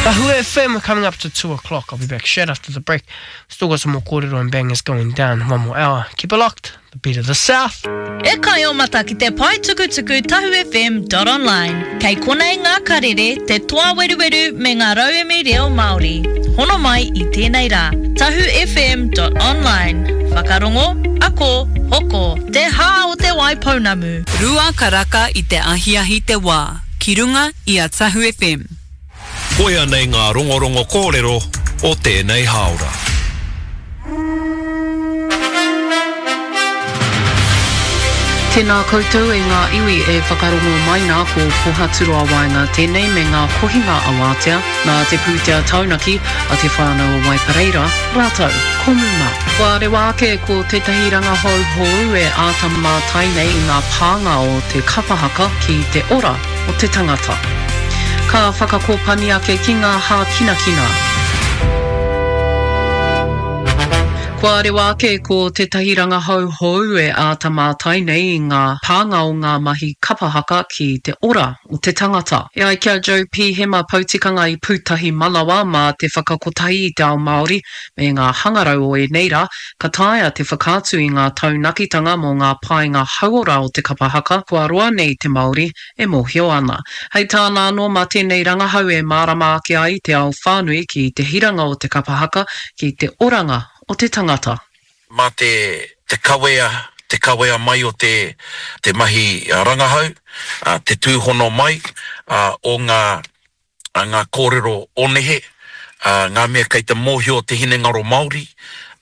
Tahu FM coming up to 2 o'clock. I'll be back straight after the break. Still got some more kōrero and bangers going down. One more hour. Keep it locked. The beat of the south. E kai o mata ki te pae tukutuku tahufm.online. Kei konei ngā karere, te toa weruweru me ngā rauemi reo Māori. Hono mai i tēnei rā. Tahufm.online. Whakarongo, ako, hoko, te hā o Te Waipounamu. Karaka i te ahiahi te wā, ki runga i a Tahu FM. Koia nei ngā rongorongo kōrero o tēnei hāora. Tēnā koutou e ngā iwi e whakarongo mai nā ko Pohaturoa Waenga tēnei me ngā kohinga awātea nā te pūtea taunaki a Te Whānau o Waipareira rātou ko Muma. Kua rewa ake ko tētahi rangahau hou e āta mātai nei i ngā pānga o te kapa haka ki te ora o te tangata. Ka whakakōpani ake ki ngā hākinakina. Kua rewa ake ko tētahi rangahau hou e āta mātai nei i ngā pānga o ngā mahi kapa haka ki te ora o te tangata. E ai ki a Joe Pihema Poutikanga i Pūtahi Manawa mā te whakakotahi i te ao Māori me ngā hangarau o ēnei rā, ka taea te whakaatu i ngā taunakitanga mō ngā painga hauora o te kapa haka kua roa nei te Māori e mōhio ana. Hei tāna anō mā tēnei rangahau e mārama ake ai te ao whānui ki te hiranga o te kapa haka ki te oranga o te tangata. Mā te te kawea, te kawea mai o te te mahi rangahau, te tūhono mai o ngā ngā kōrero o nehe, ngā mea kei te mōhio te hinengaro Māori,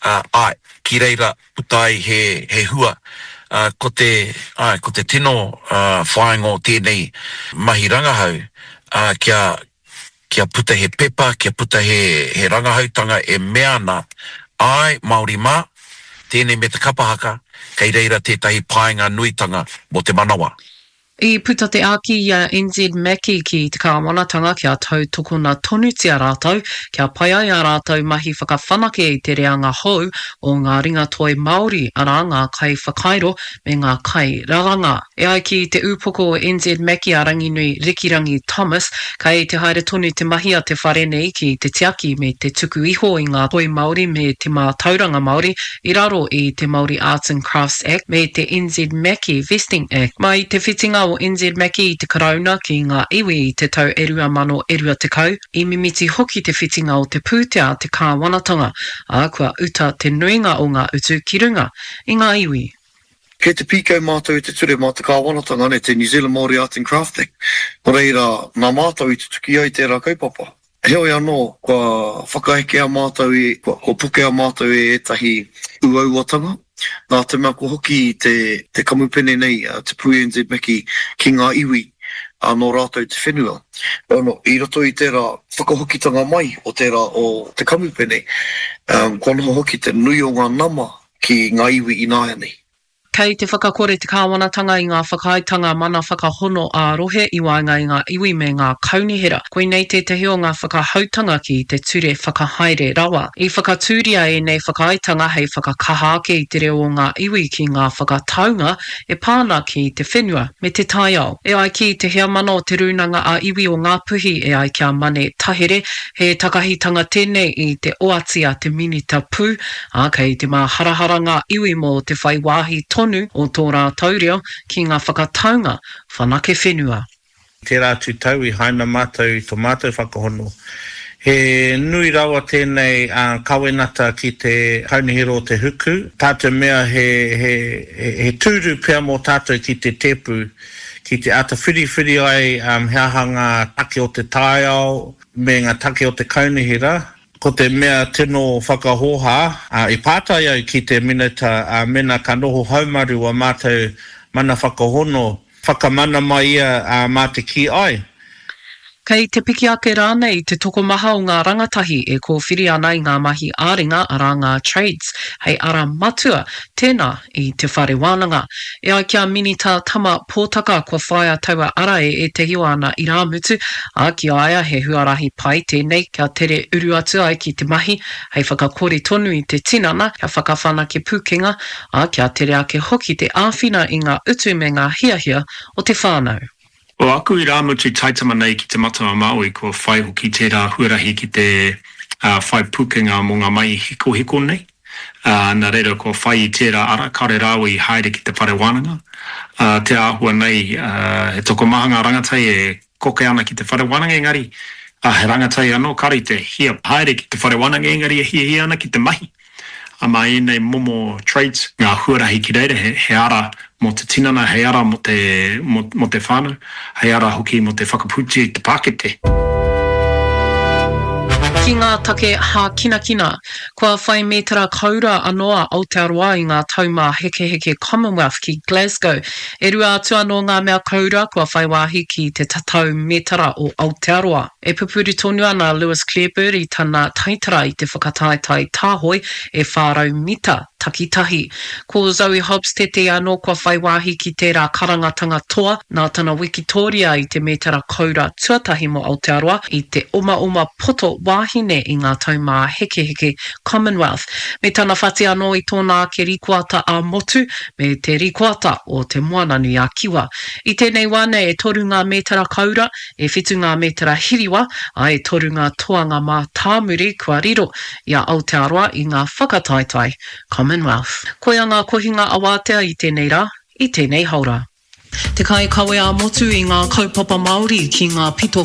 āe, ki reira puta ai he, he hua. Ko te, āe, ko te tino whāinga o tēnei mahi rangahau, kia, kia puta he pepa, kia puta he, he rangahautanga e mea ana, āe, Māori mā, tēnei me te kapa haka, kei reira tētahi painga nuitanga mō te manawa. I puta te āki i a NZ Mackie ki te kāwanatanga kia tautokona tonutia rātou, kia pai ai ā rātou mahi whakawhanake i te reanga hou o ngā ringatoi Māori, arā, ngā kaiwhakairo me ngā kairaranga. E ai ki te ūpoko o NZ Mackie a Ranginui Rikirangi Thomas, kei te haere tonu te mahi a te whare nei ki te tiaki me te tuku iho i ngā toi Māori me te mātauranga Māori i raro i te Māori Arts and Crafts Act me te NZ Mackie Vesting Act. Mai i te whitinga o NZ Mackie i te Karauna ki ngā iwi i te tau e 2020, i mimiti hoki te whitinga o te pūtea a te kāwanatanga, ā, kua uta te nuinga o ngā utu ki runga i ngā iwi. Kei te pīkau mātou i te ture mā te kāwanatanga, nē, te New Zealand Māori Arts and Crafts Act. Nō reira, nā mātou i tutuki ai tērā kaupapa. Heoi anō, kua whakaekea mātou i, kua pokea mātou e ētahi uauatanga, nā te mea kua hoki te, te kamupene nei, te Pū NZ Mackie, ki ngā iwi, ā, nō rātou te whenua. Ono, i roto i tērā whakahokitanga mai o tērā o te kamupene, kua noho hoki te nui o ngā nama ki ngā iwi ināianei. Kei te whakakore te kāwanatanga i ngā whakaaetanga mana whakahono ā-rohe i waenga i ngā iwi me ngā kaunihera. Koinei tētahi o ngā whakahoutanga ki te Ture Whakahaere Rawa. I whakatūria ēnei whakaaetanga hei whakakaha ake i te reo o ngā iwi ki ngā whakataunga e pā ana ki te whenua me te taiao. E ai ki te heamana o Te Rūnanga ā-Iwi o Ngāpuhi e ai ki a Mane Tahere, he takahitanga tēnei i te oati a te Minita Pū, ā, kei te māharahara ngā iwi mō te whai wāhi tonu o tō rātou reo ki ngā whakataunga whanake whenua. Tērā atu tau i haina mātou i to mātou whakahono. He nui rawa tēnei kawenata ki te Kaunihera o te Huku, tā te mea he, he, he tūru pea mō tātou ki te tēpu, ki te āta whiriwhiri ai he aha ngā take o te taiao me ngā take o te kaunihera, Ko te mea tino whakahōhā, i pātai au ki te Minita mēnā ka noho haumaru wā mātou mana whakahono, whakamana mai ia mā te kī āe. Kei te piki ake rānei te tokomaha o ngā rangatahi e kōwhiri ana i ngā mahi ā-ringa, arā ngā trades, hei ara matua tēnā i te whare wānanga. E ai ki a Minita Tama Pōtaka kua whāia taua ara e ētahi o ana irāmutu, ā, ki a ia he huarahi pai tēnei kia tere uru atu ai ki te mahi hei whakakori tonu i te tinana, kia whakawhanake pūkenga, ā, kia tere ake hoki te āwhina i ngā utu me ngā hiahia o te whānau. O aku irāmutu taitama nei ki Te Matau a Māui kua whai hoki tērā huarahi ki te whai pūkenga mō ngā mahi hikohiko nei, ā, nā reira kua whai i tērā ara, kāore rāua i haere ki te whare wānanga. Ā, te āhua nei, he tokomaha ngā rangatahi e koke ana ki te whare wānanga engari, ā, he rangatahi anō kāore i te hia haere ki te whare wānanga engari e hiahia ana ki te mahi. Ā, mā ēnei momo traits, ngā huarahi ki reira, he, he ara mō te tinana, hei ara mō te, mō, mō te whānau, hei ara hoki mō te whakapūtia i te pākete. Ki ngā take hākinakina, kua whai mētara koura anō a Aotearoa i ngā Taumāhekeheke Commonwealth ki Glasgow. E rua atu anō ngā mea koura kua whai wāhi ki te tatau mētara o Aotearoa. E pupuri tonu ana a Lewis Clareburt i tana taitara i te whakataetae tāhoe e 400 mita takitahi. Ko Zoe Hobbs tētehi anō kua whai wāhi ki tērā karangatanga toa, nā tana wikitōria i te mētara koura tuatahi mō Aotearoa i te omaoma poto wāhine i ngā Taumāhekeheke Commonwealth, me tana whati anō i tōna ake rikoata ā-motu me te rikoata o Te Moananui-a-Kiwa. I tēnei wā nei e toru ngā mētara koura, E whitu ngā mētara hiriwa, ā, e toru ngā toanga mātāmuri kua riro i a Aotearoa i ngā whakataetae Commonwealth. Koia ngā kohinga awātea i tēnei rā, i tēnei haora. Te kaikawe ā-motu i ngā kaupapa Māori ki ngā pito.